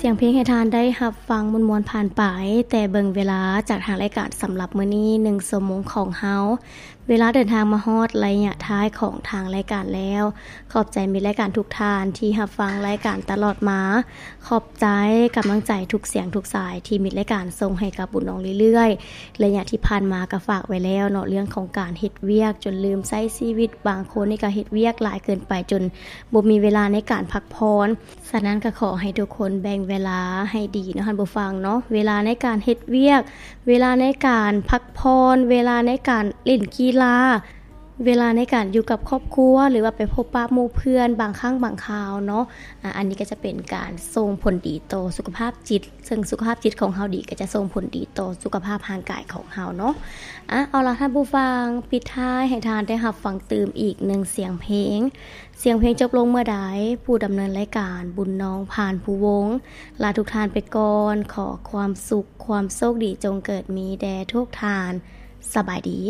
ສຽງເພງໃຫ້ທ່ານໄດ້ຮັບຟັງມ່ວນໆຜ່ານໄປ, ແຕ່ເບິ່ງເວລາຈາກທາງລາຍການສຳລັບມື້ນີ້ ໜຶ່ງຊົ່ວໂມງຂອງເຮົາ ເວລາເດີນທາງມາຮອດໄລຍະທ້າຍຂອງທາງລາຍການແລ້ວ. ຂອບໃຈມິດລາຍການທຸກທ່ານທີ່ຮັບຟັງລາຍການຕະຫຼອດມາ. ຂອບໃຈກຳລັງໃຈທຸກສຽງທຸກສາຍທີ່ມິດລາຍການສົ່ງໃຫ້ກັບບຸນນ້ອງເລື້ອຍໆ. ໄລຍະທີ່ຜ່ານມາກໍຝາກໄວ້ແລ້ວເນາະ, ເລື່ອງຂອງການເຮັດວຽກຈົນລືມໃຊ້ຊີວິດ, ບາງຄົນນີ້ກໍເຮັດວຽກຫຼາຍເກີນໄປຈົນບໍ່ມີເວລາໃນການພັກຜ່ອນ. ສະນັ້ນກໍຂໍໃຫ້ທຸກຄົນແບ່ງເວລາໃຫ້ດີເນາະທ່ານຜູ້ຟັງເນາະ, ເວລາໃນການເຮັດວຽກ, ເວລາໃນການພັກຜ່ອນ, ເວລາໃນການຫຼິ້ນກິລາ, ເວລາໃນການຢູ່ກັບຄອບຄົວ ຫຼືວ່າໄປພົບປະໝູ່ເພື່ອນບາງຄັ້ງບາງຄາວເນາະ. ອາ ອັນນີ້ກໍຈະເປັນການສົ່ງຜົນດີຕໍ່ສຸຂະພາບຈິດ, ເຊິ່ງສຸຂະພາບຈິດຂອງເຮົາດີ ກໍຈະສົ່ງຜົນດີຕໍ່ສຸຂະພາບຮ່າງກາຍຂອງເຮົາເນາະ. ອາ ເອົາລະທ່ານຜູ້ຟັງ, ປິດທ້າຍໃຫ້ທ່ານໄດ້ຮັບຟັງຕື່ມອີກໜຶ່ງສຽງເພງ. ສຽງເພງຈົບລົງເມື່ອໃດ, ຜູ້ດຳເນີນລາຍການ ບຸນນ້ອງ ພານພູວົງ ລາທຸກທ່ານໄປກ່ອນ. ຂໍຄວາມສຸກ, ຄວາມໂຊກດີຈົ່ງເກີດມີແດ່ທຸກທ່ານ. ສະບາຍດີ.